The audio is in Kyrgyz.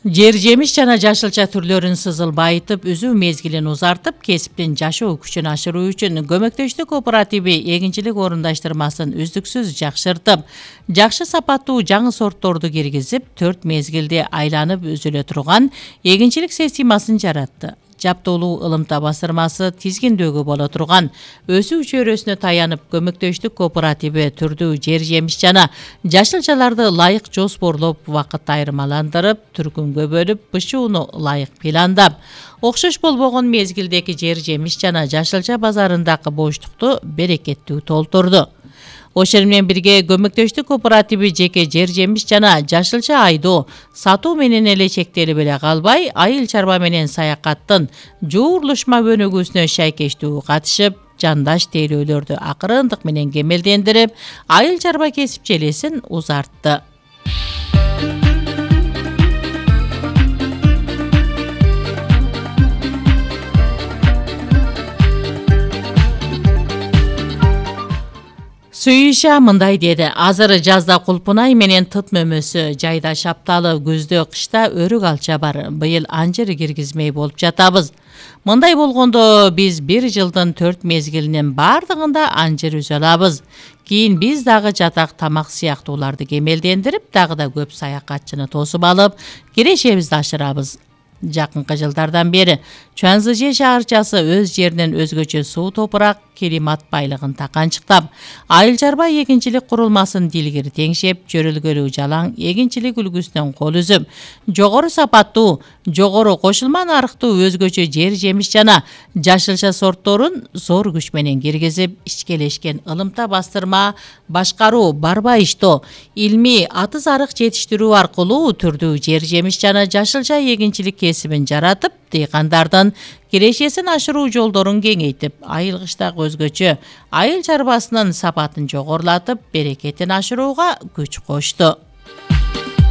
Жер жемиш жана жашылча түрлөрүн сызыл байытып, үзүү мезгилин узартып, кесиптин жашоо күчүн ашыруу үчүн көмөктөштүк кооперативи эгинчилик орундаштырмасын үздүксүз жакшыртып, жакшы сапаттуу жаңы сортторду киргизип, 4 мезгилде айланып үзүлө турган эгинчилик системасын жаратты. Жаптоолуу ылымта басырмасы тизгиндөөгө боло турган өсүү чөйрөсүнө таянып, көмөктөштүк кооперативи түрдүү жер жемиш жана жашылчаларды ылайык жоспорлоп, вакыт айырмаландырып, түркүнгө бөлүп, бышууну ылайык пландап, окшош болбогон мезгилдеги жер жемиш жана жашылча базарындагы боштукту берекеттүү толтурду. Ошол менен бирге көмөктөштүк кооперативи жеке жер жемиш жана жашылча айдоо, сатуу менен эле чектелип эле калбай, айыл чарба менен саякаттын жуурулушма өнүгүүсүнө шайкештүү катышып, жандаш тейлөөлөрдү акырындык менен кемелдендирип, айыл чарба кесип желесин узартты. Сүйүша мындай деди: азыр жазда кулпунай менен тыт мөмөсү, жайда шапталы, күздө кышта өрүк алча бар. Быйыл анжыр киргизмей болуп жатабыз. Мындай болгондо биз 1 жылдын 4 мезгилинин бардыгында анжыр үзө алабыз. Кийин биз дагы жатак, тамак сыяктууларды кемелдендирип, дагы да көп саякатчыны тосуп алып, кирешебизди ашырабыз. Жакынкы жылдардан бери Чуанзыже шаарчасы өз жеринен өзгөчө суу топурак, климат байлыгын таканчыктап, айыл чарба эгинчилик курулмасын дилгири теңшеп, жөрөлгөлүү жалаң эгинчилик үлгүсүнөн кол үзүп, жогору сапаттуу, жогору кошулма нарыктуу өзгөчө жер жемиш жана жашылча сортторун зор күч менен киргизип, ичкелешкен ылымта бастырма, башкаруу, барба иштөө, илмий атыз арык жетиштирүү аркылуу түрдүү жер жемиш жана жашылча эгинчилик кесибин жаратып, дыйкандардын кирешесин ашыруу жолдорун кеңейтип, айыл кыштагы өзгөчө айыл чарбасынын сапатын жогорулатып, берекетин ашырууга күч кошту.